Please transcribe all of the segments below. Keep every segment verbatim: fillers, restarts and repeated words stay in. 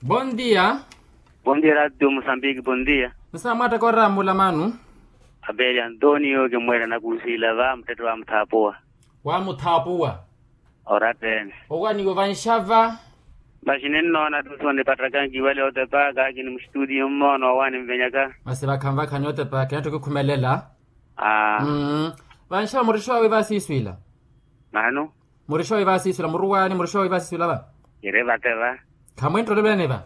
Bondia. Bondia radio musambiki bondia. Nsa mwataka oramula manu. Abeli antonio kimwela nakusiila va mutette wa muthaapuwa. Wa muthaapuwa. Orattene. Owaniwa vanxava. Maxi ninnoona tusi onipattakha nkiwale otepa kaakini muxituti mmoona owaani nvenyaka. Masi vakhanvakhani otepa kinatthu kikhumelela. Aa. Vanxava murixowa wi vasiiswila. Manu. Murixowa wi vasiiswila muruwaani murixowa wi vasiiswila va. Kiri vate va. Khamwinttolelani va.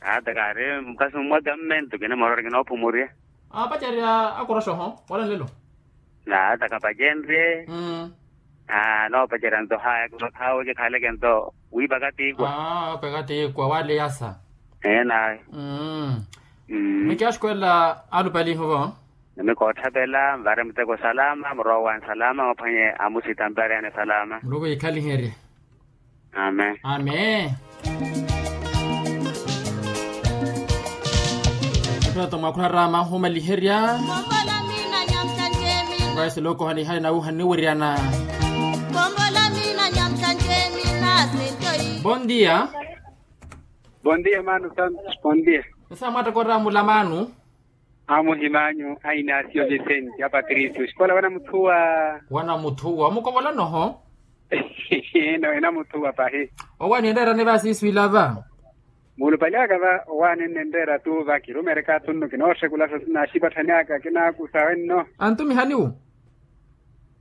Ata kaari mukasi mwa kammento kini moroori kinoophumurya. Aapacerya akoroxoho wala nlelo. Naata khapacenrye. Noopacerya nto haya khaaweke khaleke nto wiipaka tiikwa. Aa okweka tiikwa waaleyasa. Eenayo. Mikiaxukwela alupalihu vo. Nimikootthavela nvare muteko salama murowa wani salama maphwanye amusita mbareyani salama. Muluku yiikhaliherye. Amen. Amen. Epirato mwakhurara maahumaliherya. Vaisolokohani hali nawuhani niwiryana. Bondia. Bondia mano santos bondia. Nsa mwataka oramula mano. Amuhimanyu a inasio vicente a patricio xikola wanamuthuwa. Wanamuthuwa omukovolanoho. Ino enamuthuwa pahi. Owaani enreerani vasiiswila va. Muulupali aka va owaani ennenreera tu va kirumereka tunnu kinooxekula sasi naxipatthani aka kinaakusa wenno. Antumihaniwo.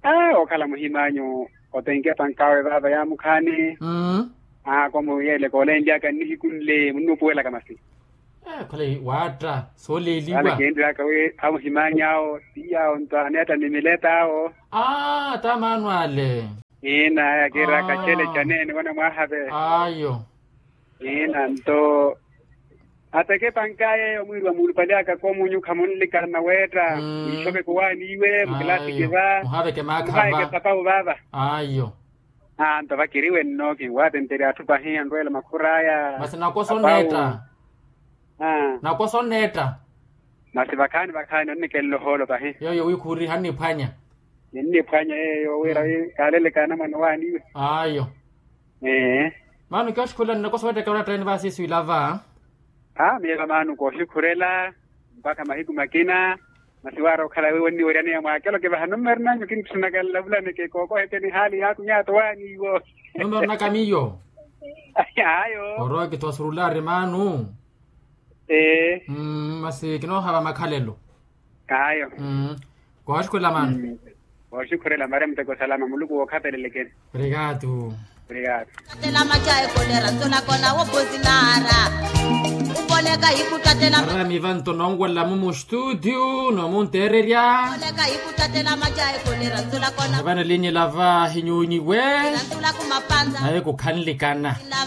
Aa okhala muhimanyu otenke pankawe vava yaamukhaani. Aa komuyeeleka olenlyaka nnihiku nle munnuupuwelaka masi. Khole waatta sooleeliwa. Kinriyaka wi amuhimanyu awo tiyawo nto aneetta ni mileta awo. Aa tta maano ale. Ina yakiiraka cele caneene wana mwahave. Ayo. Ina nto ateke pankaye omwiiri wa muulupali aka komunyu khamunlikana weetta. Mwiixoveke owaani iwe mukilaatike va. Muhaveke maakha va. Muhaveke papawu vava. Ayo. Aa nto vakiriwe nno kinwaatenteri atthu pahi anrweela makhur'aya. Masi nakosa oneetta. Nakosa oneetta. Masi vakhaani vakhaani onnikenle ohoolo pahi. Yooyo wi khuuri hanniphwanya. Kinniphwanya yeeyo wira wi kaalelekana mwana owaani iwe. Ayo. Ee. Maano kioxikhula nnakosa owetteke oratta ene vaasiiswila va. Aa miyo vamaano kooxikhurela mpakha mahiku makina. Masi waari okhala wiiwo nniweryaneya mwaakelo kivahano mmarinanyu kintthunaka nlavulaneke kookoheke ni haali yaaku nyaato waani iwo. Numero naka miyo. Ayo. Orowa kithowa surulaari maanu. Ee. Masi kinoohava makhalelo. Ayo. Kooxikhurela maanu. Kooxikhurela mare muteko salama muluku wookhapelelekeni. Obrigado. Obrigado. Aramiva nto nonwela mumu studio nomunteererya. Vana linyela va hinyunyiwe. Naye kukhanlikana.